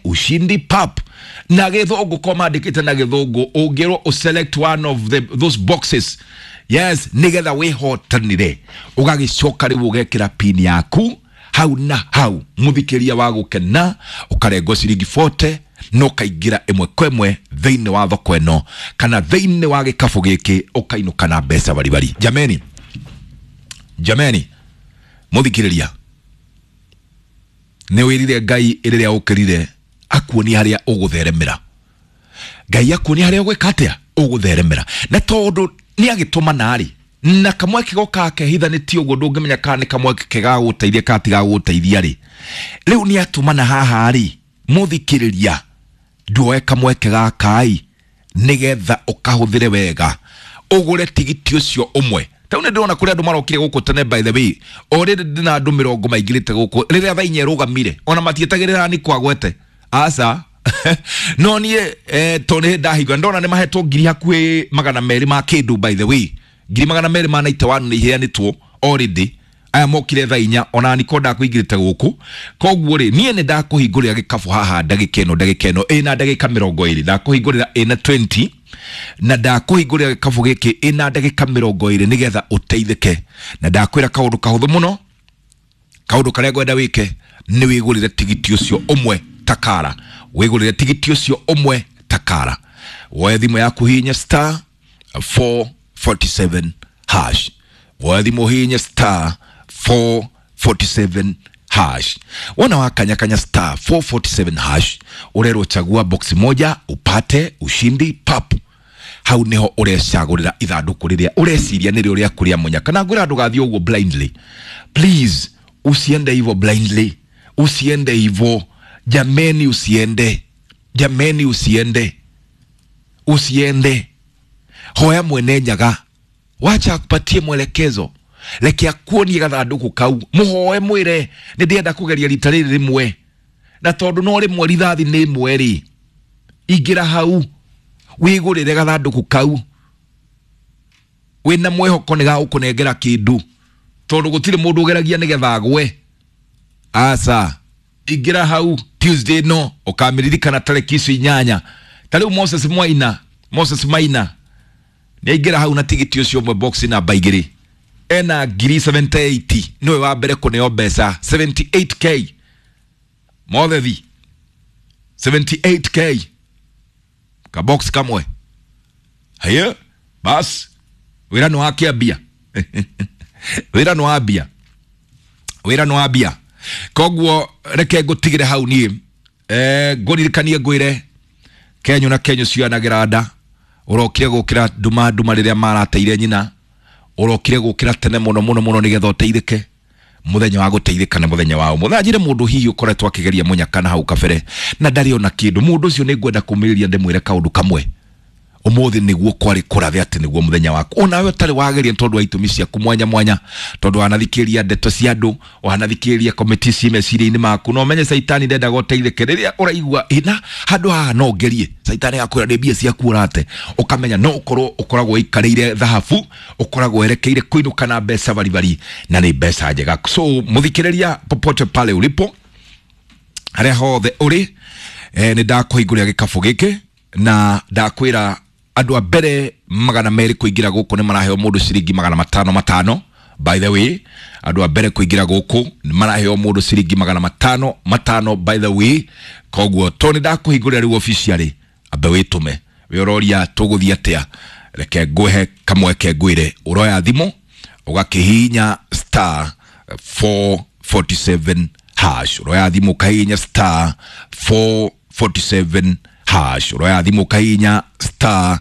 Ushindi pap na gĩthũngũ ko mandĩkĩte na gĩthũngũ ũngĩrwo ũselect one of those boxes, yes, nĩgetha wĩhotanĩre, ũgagĩcoka rĩu ũgekĩra pin yaku hau na hau, mũthikĩria wa gũkena, ũkarengwo ciringi 40 na ũkaingĩra ĩmwe kwa ĩmwe thĩinĩ wa thoko ĩno kana thĩinĩ wa gĩkabũ gĩkĩ, ũkainũka na mbeca baribari. Jameni, jameni, mũthikĩrĩria, nĩ wĩrire Ngai rĩrĩa ũkĩrire akuonie harĩa ũgũtheremera. Ngai akuonie harĩa ũgwĩka atĩa, ũgũtheremera. Na tondũ nĩ agĩtũmana rĩ, na kamweke goka kehithanĩtie ũguo, ndũngĩmenya kana nĩ kamweke kegagũteithia kana tigagũteithia rĩ. Rĩu nĩ atũmana haha rĩ, mũthikĩrĩria, nduoe kamweke gaka-ĩ nĩgetha ũkahũthĩre wega, ũgũre tigiti ũcio ũmwe. Tau nĩ ndĩrona kũrĩ andũ marokire gũkũ tene. By the way, o rĩrĩ ndĩna andũ 40 maingĩrĩte gũkũ rĩrĩa thaa 4 ĩrũgamire, ona matietagĩrĩra ni kwagwete aca. No niĩ tondũ nĩ ndahingũra, ndona nĩ mahetwo ngiri hakuhĩ 200 ma kĩndũ. By the way, ngiri 291 nĩ iheanĩtwo already, aya mokire thaa 4. Ona niko ndakũingĩrĩte gũkũ. Koguo rĩ, niĩ nĩ ndakũhingũrĩra gĩkabũ haha ndagĩka ĩno, ndagĩka ĩno ĩna ndagĩka 20, ndakũhingũrĩra ĩna 20, na ndakũhingũrĩra gĩkabũ gĩkĩ ĩna ndagĩka 20 nĩgetha ũteithĩke. Na ndakwĩra kaũndũ kahũthũ mũno, kaũndũ karĩa ngwenda wĩke nĩ wĩgũrĩre tigiti ũcio ũmwe takara, wĩgũrĩre tigiti ũcio ũmwe takara. Woe thimũ yaku, hihinya star 447 hash. Woe thimũ, hihinya star 447 hash. Wona wakanyakanya star 447 hash, ũrerwo chagua box moja upate ushindi pap. Hau niho ũrecagũrĩra ithandũkũ rĩrĩa ũreciria nĩrĩo rĩaku rĩa mũnyaka. Na ngwĩra ndũgathiĩ ũguo blindly. Please, usiende hivyo blindly, usiende hivyo jameni, usiende jameni, usiende, usiende. Hoya mwene Nyaga, wacha akupatie mwelekezo, reke akuonie gathandũkũ kau, mũhoe, mwĩre nĩ ndĩrenda kũgeria rita rĩrĩ rĩmwe, na tondũ no rĩmwe, rithathi nĩ ĩmwe rĩ, ingĩra hau wĩgũrĩre gathandũkũ kau wĩna mwĩhoko nĩ gagũkũnengera kĩndũ, tondũ gũtirĩ mũndũ ũgeragia nĩgetha agwe. Aca, ingĩra hau. Tuesday no ũkamĩririkana tarĩki icio 8. Ta rĩu Moses Mwaina, Moses Maina nĩ aingĩra hau na tigiti ũcio ũmwe, box namba 2, ena ngiri 78. Nĩwe wa mbere kũneo mbeca 78K mothethi, 78K kabox kamwe. Haya bas, wĩra nĩ wakĩambia, wĩra nĩ wambia, wĩra nĩ wambia. Koguo reke ngũtigĩre hau niĩ, ngũririkanie, ngwĩre kenyũ na kenyũ cioyanagĩra nda. Ũrokire gũkĩra nduma nduma rĩrĩa marateire nyina, ũrokire gũkĩra tene mũno mũno mũno nĩgetha ũteithĩke. Mũthenya wa gũteithĩka nĩ mũthenya wa ũmũthĩ. Njĩre mũndũ hihi ũkoretwo akĩgeria mũnyaka na hau kabere na ndarĩ ona kĩndũ, mũndũ ũcio nĩ ngwenda kũmĩrĩria ndĩmwĩre kaũndũ kamwe: ũmũthĩ nĩguo kwarĩ kũrathe atĩ nĩguo mũthenya waku. Onawe ũtarĩ wageria nĩ tondũ wa itũmi ciaku mwanya mwanya, tondũ wanathikĩrĩria ndeto cia andũ, wanathikĩrĩria komiti ci meciria-inĩ maku, na ũmenye caitani ndendaga ũteithĩke. Rĩrĩa ũraigua ina handũ haha no ngerie, caitani agakwĩra nĩ mbia ciaku ũrate. Ũkamenya no ũkorwo ũkoragwo ũikarĩire thahabu, ũkoragwo werekeire kũinũka na mbeca baribari, na nĩ mbeca njega. So mũthikĩrĩria, popote pale ulipo, harĩa hothe ũrĩ, nĩ ndakũhingũrĩra gĩkabũ gĩkĩ na ndakwĩra andũ a mbere 200 kũingĩra gũkũ nĩ maraheo mũndũ ciringi 500 500. By the way, andũ a mbere kũingĩra gũkũ nĩ maraheo mũndũ ciringi 500 500. By the way, koguo to nĩ ndakũhingũrĩra rĩu officially, ambe wĩtũme. Wĩ ũroria tũgũthiĩ atĩa? Reke ngũhe kamweke, ngwĩre ũroya thimũ ũgakĩhihinya star 447 hash. Ũroya thimũ ũkahihinya star 447 hash. Ũroya thimũ ũkahihinya star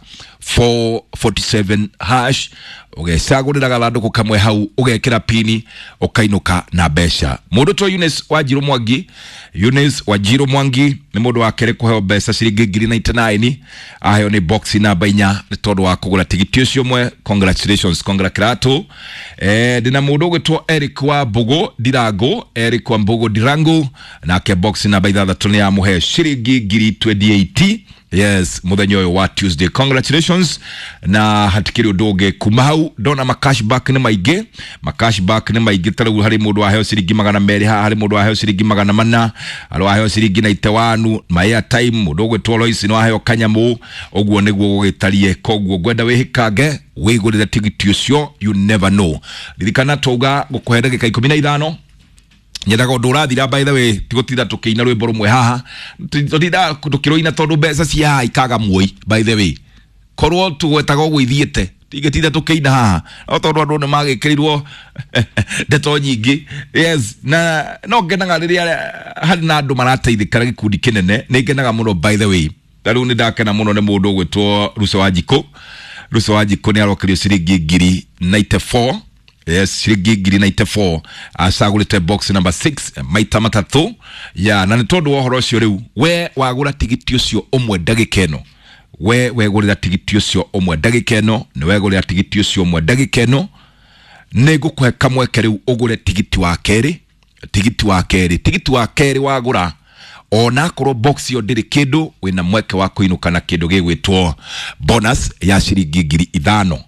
447 hash, ũgecagũrĩra gathandũkũ kamwe hau, ũgekĩra pini, ũkainũka na mbeca. Mũndũ to Eunice Wanjiru Mwangi, Eunice Wanjiru Mwangi nĩ mũndũ wa kerĩ kũheo mbeca ciringi ngiri 99, aheo nĩ box namba 4 nĩ tondũ wa kũgũra tigiti ũcio ũmwe. Congratulations, congratulato. Ndĩna mũndũ ũgwĩtwo Eric wa Mbugu Ndirangu, Eric wa Mbugu Ndirangu, nake box namba 6 nĩ yamũhe ciringi ngiri 28. Yes, muthenya ũyũ wa Tuesday, congratulations. Na hatikĩrĩ ũndũ ũngĩ kuma hau, ndona ma cashback nĩ maingĩ, ma cashback nĩ maingĩ. Ta rĩu harĩ mũndũ waheo ciringi 200 haha, harĩ mũndũ waheo ciringi 400, harĩ waheo ciringi 91 ma airtime, mũndũ ũgwĩtwo Lois nĩ waheo kanyamũ. Ũguo nĩguo gũgĩtariĩ. Koguo ngwenda wĩhĩkange wĩgũrĩre tigiti ũcio, you never know. Ririkana twauga gũkũhe ndagĩka 15. Nyendaga ũndũ ũrathira, by the way, tigũtinda tũkĩina rwĩmbo rũmwe haha, tũtinda tũkĩrũina tondũ mbeca cia haha ikaga muoi. By the way, korwo tũgwetaga ũguo ithiĩte, tingĩtinda tũkĩina haha, no tondũ andũ nĩ magĩkĩrirwo ndeto nyingĩ. Yes, na no ngenaga rĩrĩa harĩ na andũ marateithĩka na gĩkundi kĩnene, nĩ ngenaga mũno. By the way, ta rĩu nĩ ndakena mũno nĩ mũndũ ũgwĩtwo Ruco wa Njikũ. Ruco wa Njikũ nĩ arokerio ciringi 94,000. Yes, ciringi 94,000, acagũrĩte box number 6 maita matatũ ya. Na nĩ tondũ wa ũhoro ũcio, rĩu we wagũra tigiti ũcio ũmwe ndagĩka ĩno, we wegũrĩra tigiti ũcio ũmwe ndagĩka ĩno, nĩ wegũrĩra tigiti ũcio ũmwe ndagĩka ĩno, nĩ ngũkũhe kamweke rĩu ũgũre tigiti wa kerĩ. Tigiti wa kerĩ, tigiti wa kerĩ wagũra, ona akorwo box ĩyo ndĩrĩ kĩndũ, wĩna mweke wa kũinũka na kĩndũ gĩgwĩtwo bonus ya ciringi 5,000.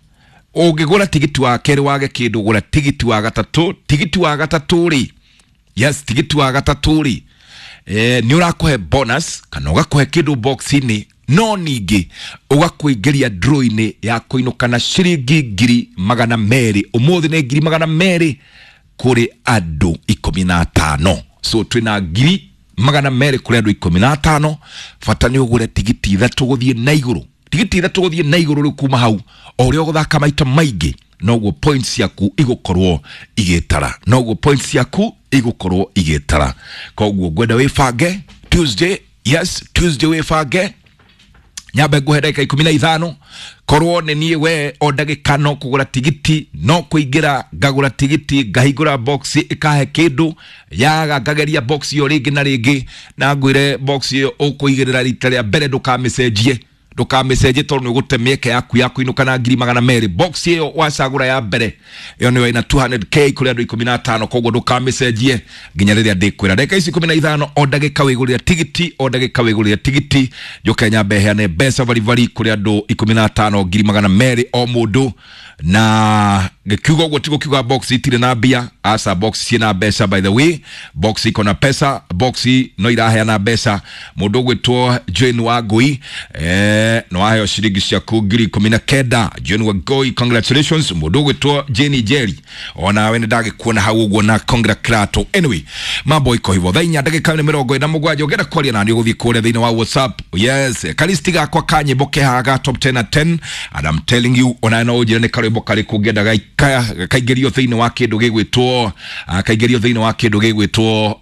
Ũngĩgũra tigiti wa kerĩ wage kĩndũ, gũra tigiti wa gatatũ. Tigiti wa gatatũ rĩ, yes, tigiti wa gatatũ rĩ, nĩ ũrakũhe bonus kana ũgakũhe kĩndũ box-inĩ, no ningĩ ũgakũingĩria draw-inĩ ya kũinũka na ciringi 200,000. Ũmũthĩ nĩ 200,000 kũrĩ andũ 15. So twĩna 200,000 kũrĩ andũ 15. Bata nĩ ũgũre tigiti ithatũ gũthiĩ na igũrũ, tigiti ithatũ gũthiĩ na igũrũ. Rĩu kuma hau, o ũrĩa ũgũthaka maita maingĩ, noguo points ciaku igũkorwo igĩtara, noguo points ciaku igũkorwo igĩtara. Koguo ngwenda wĩbange Tuesday. Yes, Tuesday, wĩbange. Nyambe nguhe ndagĩka 15. Korwo nĩ niĩ we, o ndagĩka no kũgũra tigiti, no kũingĩra ngagũra tigiti, ngahingũra box ĩkahe kĩndũ, yaga ngageria box ĩyo rĩngĩ na rĩngĩ. Na ngwĩre box ĩyo ũkũigĩrĩra rita rĩa mbere, ndũkamĩcenjie, ndũkamĩcenjie, tondũ nĩ ũgũte mĩeke yaku ya kũinũka na 200,000. Box ĩyo wacagũra ya mbere, ĩyo nĩyo ĩna 200K kũrĩ andũ 15. Koguo ndũkamĩcenjie nginya rĩrĩa ndĩkwĩra. Ndagĩka ici 15, o ndagĩka wĩgũrĩre tigiti, o ndagĩka wĩgũrĩre tigiti. Njũke nyambe heane mbeca baribari kũrĩ andũ 15, 200,000 o mũndũ. Na gĩkiuga ũguo ti gũkiuga box itirĩ na mbia, aca, box ciĩna mbeca. By the way, box iko na pesa, box no iraheana mbeca. Mũndũ ũgwĩtwo Jane Wangui, no waheo ciringi ciaku 19,000. Jane Wangui, congratulations. Mũndũ ũgwĩtwo Jane Jerry, onawe nĩ ndagĩkuona hau ũguo na congratulato. Anyway, mambo iko hivyo. Thaa 4 ndagĩka nĩ 47. Ũngĩenda kwaria nani, ũgũthiĩ kũrĩa thĩinĩ wa WhatsApp. Yes, kalisti gakwa ka nyĩmbo kehaga top 10 at 10, and I'm telling you, onawe no ũnjĩre nĩ karwĩmbo karĩkũ ũngĩenda kaingĩrio thĩinĩ wa kĩndũ gĩgwĩtwo kaingĩrio thĩinĩ wa kĩndũ gĩgwĩtwo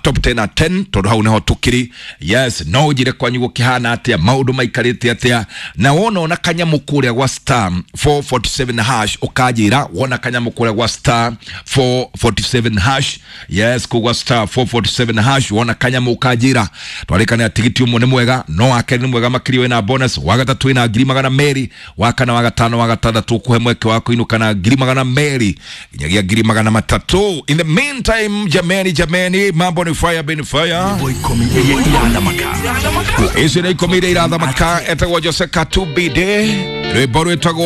top 10 at 10, tondũ hau nĩho tũkĩrĩ. Yes, no ũnjĩre kwanyu gũkĩhana atĩa, maũndũ maikarĩte atĩa, na wona ona kanyamũ kũrĩa gwa star 447 hash, ũkanjĩra wona kanyamũ kũrĩa gwa star 447 hash. Yes, kũu gwa star 447 hash, wona kanyamũ ũkanjĩra. Twarĩkanĩra tigiti ũmwe nĩ mwega, no wa kerĩ nĩ mwega makĩria, wĩna bonus, wa gatatũ wĩna 200,000, wa kana, wa gatano, wa gatandatũ ũkũhe mweke wa kũinũka na 200,000 nginyagia 300,000. In the meantime, jameni, jameni, mambo ni fire bin fire. 10 iria irathamaka. Ici nĩ 10 iria irathamaka. Etagwo Jose Katubide, rwĩmbo rwĩtagwo